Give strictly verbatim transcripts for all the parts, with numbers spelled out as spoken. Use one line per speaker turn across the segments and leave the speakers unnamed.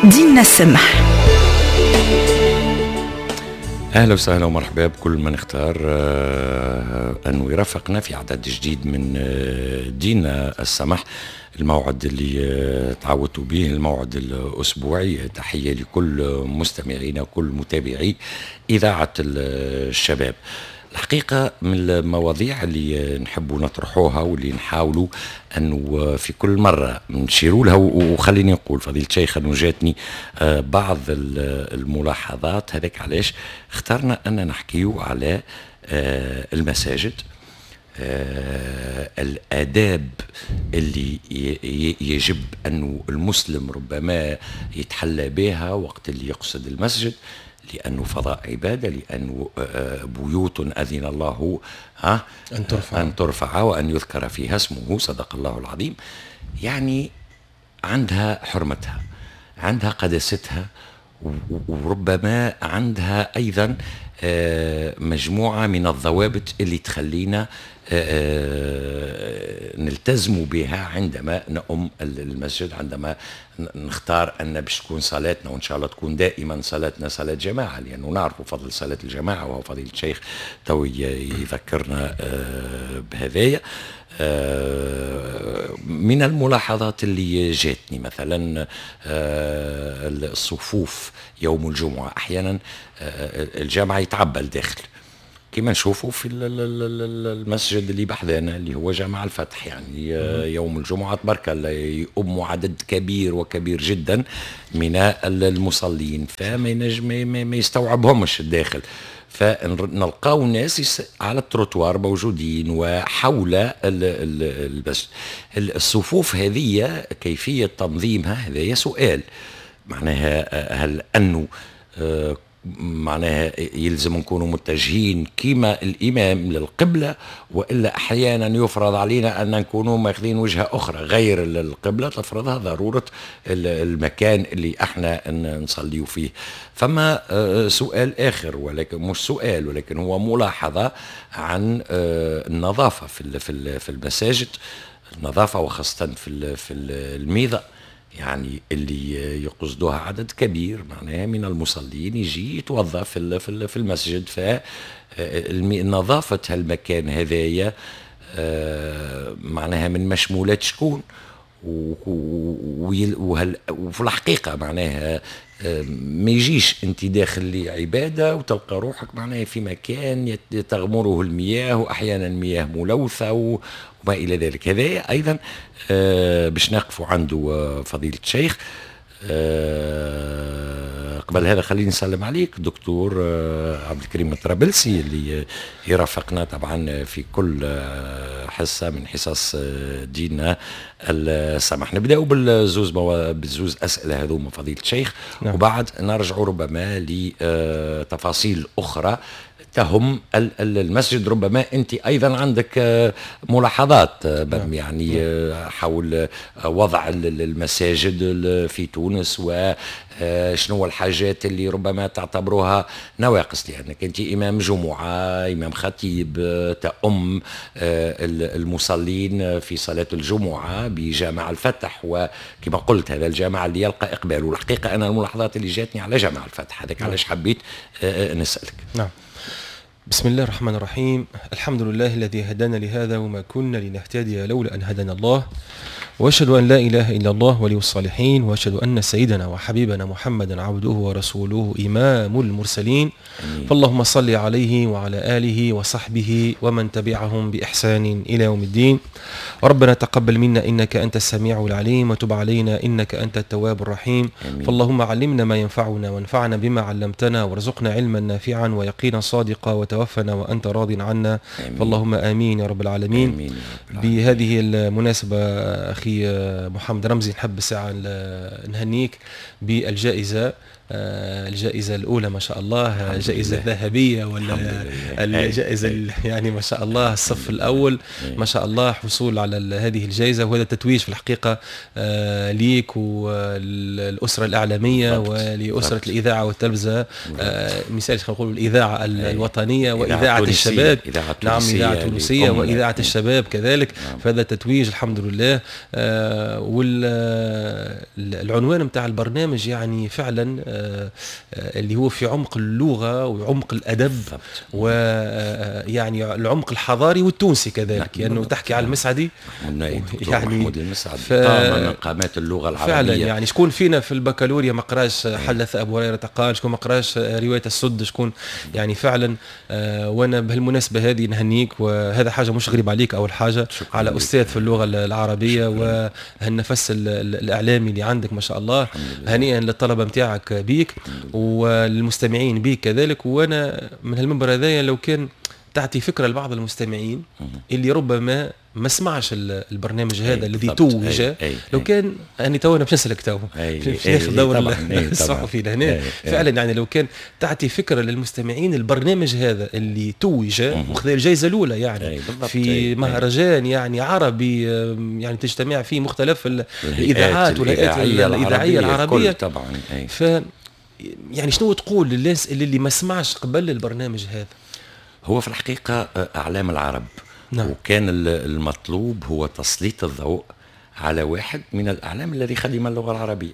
ديننا السمح.
اهلا وسهلا ومرحبا بكل من اختار انه يرافقنا في عدد جديد من ديننا السمح، الموعد اللي تعودتوا به، الموعد الاسبوعي. تحية لكل مستمعينا وكل متابعي اذاعة الشباب. الحقيقة من المواضيع اللي نحبوا نطرحوها واللي نحاولوا أنه في كل مرة نشيروا لها، وخليني نقول فضيلة الشيخ أنه جاتني بعض الملاحظات، هذاك علاش اخترنا أن نحكيو على المساجد، الآداب اللي يجب أنه المسلم ربما يتحلى بها وقت اللي يقصد المسجد، لأنه فضاء عبادة، لأنه بيوت أذن الله ها
أن ترفع.
أن ترفع وأن يذكر فيها اسمه، صدق الله العظيم. يعني عندها حرمتها، عندها قداستها، وربما عندها أيضا مجموعة من الضوابط اللي تخلينا نلتزم بها عندما نؤم المسجد، عندما نختار أن باش تكون صلاتنا، وإن شاء الله تكون دائما صلاتنا صلاة جماعة، لأنه نعرف فضل صلاة الجماعة، وهو فضيلة الشيخ تو يذكرنا بهذايا. من الملاحظات اللي جاتني مثلا الصفوف يوم الجمعة، أحيانا الجامعة يتعبى الداخل كما نشوفوا في المسجد اللي بحذانا اللي هو جامع الفتح، يعني يوم الجمعة تبارك الله يؤم عدد كبير وكبير جدا من المصلين، فما ينجم ما يستوعبهمش الداخل، فنلقاو ناس على التروتوار موجودين وحول المسجد. الصفوف هذه كيفية تنظيمها هذا سؤال، معناها هل أنه معناها يلزم نكونوا متجهين كما الإمام للقبلة، وإلا أحيانا يفرض علينا أن نكونوا ماخذين وجهة أخرى غير القبلة تفرضها ضرورة المكان اللي احنا نصليو فيه. فما سؤال آخر، ولكن مش سؤال ولكن هو ملاحظة عن النظافة في في المساجد، النظافة وخاصة في في الميضة، يعني اللي يقصدوها عدد كبير معناها من المصلين يجي يتوظف في في المسجد، فنظافة هالمكان هذايا معناها من مشمولات شكون، وفي الحقيقة معناها ما يجيش انت داخل لعبادة وتلقى روحك معناها في مكان تغمره المياه، واحيانا مياه ملوثة وما الى ذلك. هذا ايضا باش نقفوا عنده فضيلة الشيخ. قبل هذا خليني نسلم عليك دكتور عبد الكريم الطرابلسي اللي يرافقنا طبعا في كل حصة من حصص ديننا السمح. نبداو بالزوز بالزوز اسئلة هذوما فضيلة الشيخ، نعم. وبعد نرجع ربما لتفاصيل اخرى تهم المسجد. ربما انت ايضا عندك ملاحظات نعم. يعني حول وضع المساجد في تونس، وشنو الحاجات اللي ربما تعتبروها نواقص، لانك انت امام جمعه، امام خطيب، تؤم المصلين في صلاة الجمعة بجامع الفتح، وكما قلت هذا الجامع اللي يلقى اقبال. والحقيقة انا الملاحظات اللي جاتني على جامع الفتح هذاك علاش حبيت نسالك.
نعم. بسم الله الرحمن الرحيم. الحمد لله الذي هدانا لهذا وما كنا لنهتدي لولا أن هدانا الله، وأشهد أن لا إله إلا الله ولي الصالحين، وأشهد أن سيدنا وحبيبنا محمدا عبده ورسوله إمام المرسلين. أمين. فاللهم صل عليه وعلى آله وصحبه ومن تبعهم بإحسان إلى يوم الدين. ربنا تقبل منا إنك أنت السميع العليم، وتب علينا إنك أنت التواب الرحيم. أمين. فاللهم علمنا ما ينفعنا، وانفعنا بما علمتنا، وارزقنا علما نافعا ويقينا صادقا، وتوفنا وأنت راض عنا. آمين. فاللهم آمين يا رب العالمين. آمين. بهذه المناسبة أخي محمد رمزي، نحب ساعة نهنيك بالجائزة الجائزة الأولى ما شاء الله، الجائزة الذهبية ولا الجائزة يعني ما شاء الله الصف الأول ما شاء الله، حصول على هذه الجائزة، وهذا تتويج في الحقيقة ليك والأسرة الإعلامية ولأسرة الإذاعة والتلفزة، مثال خلينا نقول الإذاعة الوطنية وإذاعة الشباب، نعم إذاعة تونسية وإذاعة الشباب كذلك، فهذا تتويج الحمد لله. والعنوان متاع البرنامج يعني فعلا اللي هو في عمق اللغة وعمق الأدب ويعني العمق الحضاري والتونسي كذلك، لأنه يعني تحكي على المسعدي،
يعني محمود المسعدي ف... قامة من قامات اللغة العربية
فعلا. يعني شكون فينا في البكالوريا ما قراش حدث أبو هريرة قال، شكون ما قراش رواية السد، شكون يعني فعلا. وأنا بهالمناسبة هذه نهنيك، وهذا حاجة مش غريب عليك، أول حاجة على أستاذ في اللغة العربية وهالنفس الإعلامي اللي عندك ما شاء الله، هنيئا للطلبة متاعك بيك والمستمعين بيك كذلك. وانا من هالمنبر هذايا لو كان تعطي فكرة لبعض المستمعين اللي ربما ما سمعش البرنامج هذا الذي توج، لو كان انا تو انا باش نسالك تو باش ناخذ دور الصحفي لهنا فعلا، يعني لو كان تعطي فكرة للمستمعين البرنامج هذا اللي توج وخذ الجائزة الاولى يعني في مهرجان يعني عربي، يعني تجتمع فيه مختلف الاذاعات والهيئات الاذاعية العربية
طبعا.
ف يعني شنو تقول للناس اللي ما سمعش قبل البرنامج هذا؟
هو في الحقيقة اعلام العرب، نعم. وكان المطلوب هو تسليط الضوء على واحد من الأعلام الذي خدم اللغة العربية.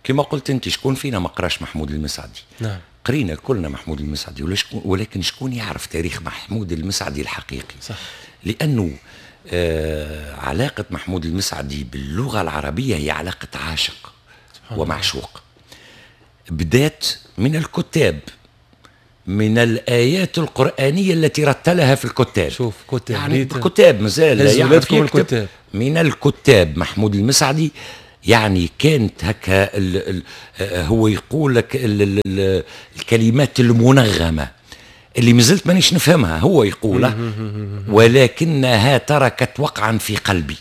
كما قلت أنت، شكون فينا ما قراش محمود المسعدي؟
نعم.
قرينا كلنا محمود المسعدي، ولكن شكون يعرف تاريخ محمود المسعدي الحقيقي؟
صح.
لأنه آه علاقة محمود المسعدي باللغة العربية هي علاقة عاشق ومعشوق، بدات من الكتاب، من الآيات القرآنية التي رتلها في الكتاب.
شوف كتاب،
يعني الكتاب مازال يعرف يكتب من الكتاب محمود المسعدي. يعني كانت هكا ال ال هو يقول لك ال ال الكلمات المنغمة اللي مازلت مانيش نفهمها، هو يقولها ولكنها تركت وقعا في قلبي.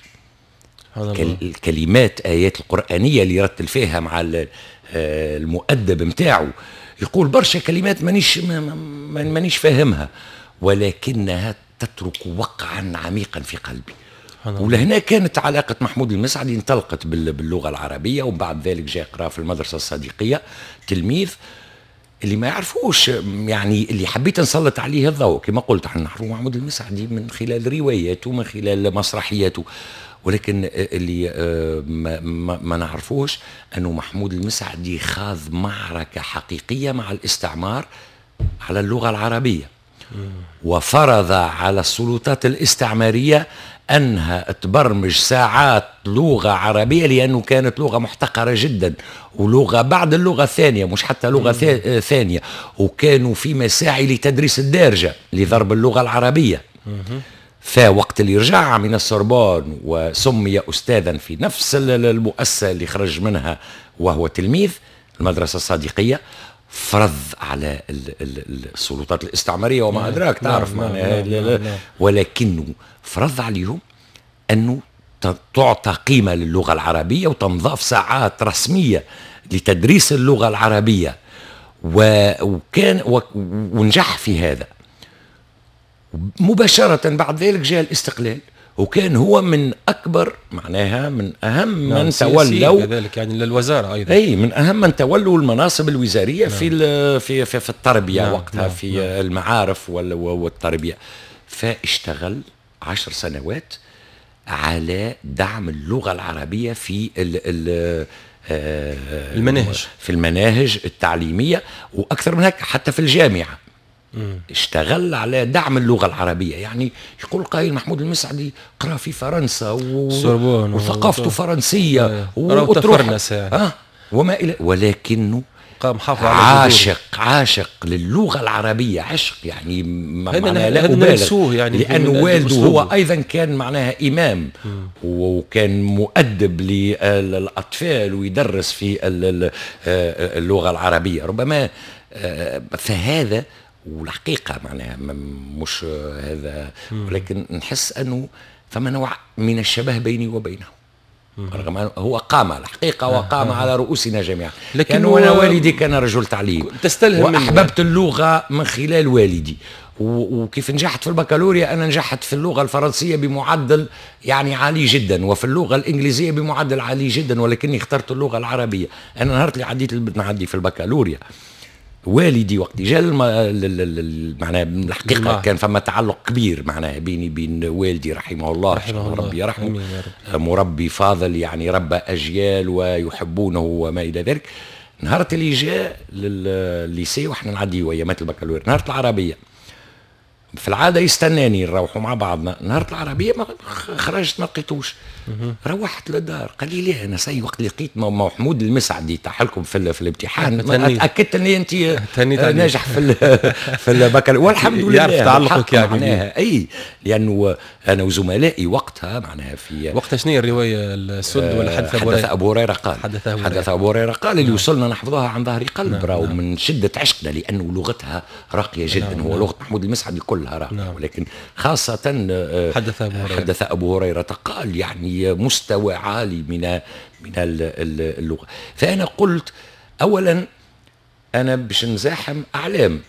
الكلمات آيات القرآنية اللي رتل فيها مع المؤدب متاعه، يقول برشا كلمات مانيش مانيش فاهمها ولكنها تترك وقعا عميقا في قلبي. ولهنا كانت علاقة محمود المسعدي انطلقت باللغة العربية، وبعد ذلك جاء قرأ في المدرسة الصديقية تلميذ اللي ما يعرفوش، يعني اللي حبيت نسلط عليه الضوء. كما قلت احنا نعرفوا محمود المسعدي من خلال رواياته من خلال مسرحياته، ولكن اللي ما, ما, ما نعرفوش أنه محمود المسعدي خاض معركة حقيقية مع الاستعمار على اللغة العربية، وفرض على السلطات الاستعمارية أنها تبرمج ساعات لغة عربية، لأنه كانت لغة محتقرة جدا، ولغة بعد اللغة الثانية مش حتى لغة ثانية، وكانوا في مساعي لتدريس الدارجة لضرب اللغة العربية. فوقت اللي رجع من السوربون وسمي أستاذا في نفس المؤسسة اللي خرج منها وهو تلميذ المدرسة الصديقية، فرض على السلطات الاستعمارية وما أدراك تعرف معناها، ولكنه فرض عليهم أنه تعطى قيمة للغة العربية وتنضاف ساعات رسمية لتدريس اللغة العربية، وكان ونجح في هذا. مباشرة بعد ذلك جاء الاستقلال، وكان هو من أكبر معناها من أهم من نعم تولوا
كذلك يعني للوزارة أيضا،
أي من أهم من تولوا المناصب الوزارية نعم. في في في, في التربية نعم. وقتها نعم. في نعم. المعارف والتربية. فاشتغل عشر سنوات على دعم اللغة العربية في ال ال
المناهج،
في المناهج التعليمية، وأكثر من هيك حتى في الجامعة. مم. اشتغل على دعم اللغة العربية. يعني يقول قائل محمود المسعدي قرأ في فرنسا و... وثقافته فرنسية
وتروح يعني.
آه وما إلى، ولكنه
قام حافظ على
عاشق عاشق للغة العربية عشق، يعني معناها لا أبالغ
يعني،
لأنه والده هو أيضا كان معناها إمام مم. وكان مؤدب للأطفال ويدرس في اللغة العربية ربما. فهذا والحقيقة معناها مش هذا، ولكن نحس أنه فما نوع من الشبه بيني وبينه. رغم أنه هو قام الحقيقة وقام على رؤوسنا جميعا.
لكن
لأنه أنا والدي كان رجل تعليم.
تستلهم منه.
وأحببت اللغة من خلال والدي، وكيف نجحت في البكالوريا، أنا نجحت في اللغة الفرنسية بمعدل يعني عالي جدا، وفي اللغة الإنجليزية بمعدل عالي جدا، ولكني اخترت اللغة العربية. أنا نهار اللي عديت نعدي في البكالوريا، والدي وقت جاء الم... معناها الحقيقة
نعم.
كان فما تعلق كبير معناها بيني بين والدي رحمه الله.
رحمه الله.
ربي يرحمه.
آمين يا رب.
مربي فاضل، يعني ربى اجيال ويحبونه وما الى ذلك. نهار اللي جاء لل lycée واحنا نعدي ايامات البكالوريا، نهار العربية في العادة يستناني نروحوا مع بعضنا، نهار العربية ما خرجت ما لقيتوش. روحت للدار، قال لي لا، انا سي وقت اللي لقيت محمود المسعدي طاح لكم في, في الامتحان تاكدت ان انت ناجح في في البكالوريا، والحمد لله.
يعرف تعلقك يعني.
معناها اي، لانه انا وزملائي وقتها معناها في
وقتها شنو هي الروايه؟ السد ولا حدث
ابو هريره؟ حدث ابو هريرة قال.
حدث ابو هريره.
حدث ابو هريرة قال، اللي نعم. وصلنا نحفظها عن ظهر قلب. نعم. راهو نعم. من شده عشقنا، لانه لغتها راقية جدا. نعم. هو نعم. لغة محمود المسعدي كلها راقيه نعم. ولكن خاصة
آه، حدث ابو هريره.
حدث ابو هريرة قال، يعني مستوى عالي من من اللغه. فانا قلت اولا انا باش نزاحم اعلام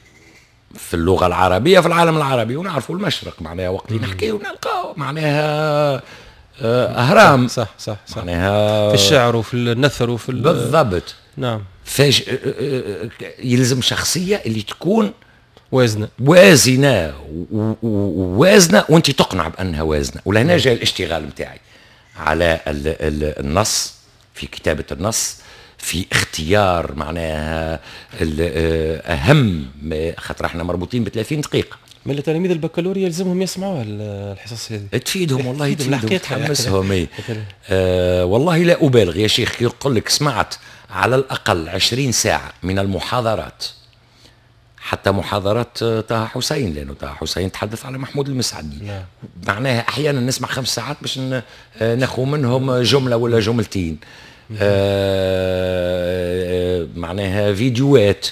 في اللغة العربية في العالم العربي، ونعرفوا المشرق معناها وقت اللي نحكي ونلقاو معناها آه، اهرام.
صح صح صح
معناها
في الشعر وفي النثر وفي
بالضبط.
نعم
فاش آه، آه، يلزم شخصية اللي تكون
وازنه.
وازنه، ووازنه وانت تقنع بانها وازنه. ولهنا جاء الاشتغال نتاعي على النص، في كتابه النص، في اختيار معناها اهم، خاطر احنا مربوطين ب ثلاثين دقيقه.
من تلاميذ البكالوريا يلزمهم يسمعوا الحصص هذه.
تفيدهم والله، تفيدهم، تحمسهم. إيه. آه والله لا ابالغ يا شيخ، يقول لك سمعت على الاقل عشرين ساعة من المحاضرات، حتى محاضرات طه حسين، لانه طه حسين تحدث على محمود المسعدي. نعم. معناها احيانا نسمع خمس ساعات باش ناخذ منهم جملة ولا جملتين. آه معناها فيديوهات.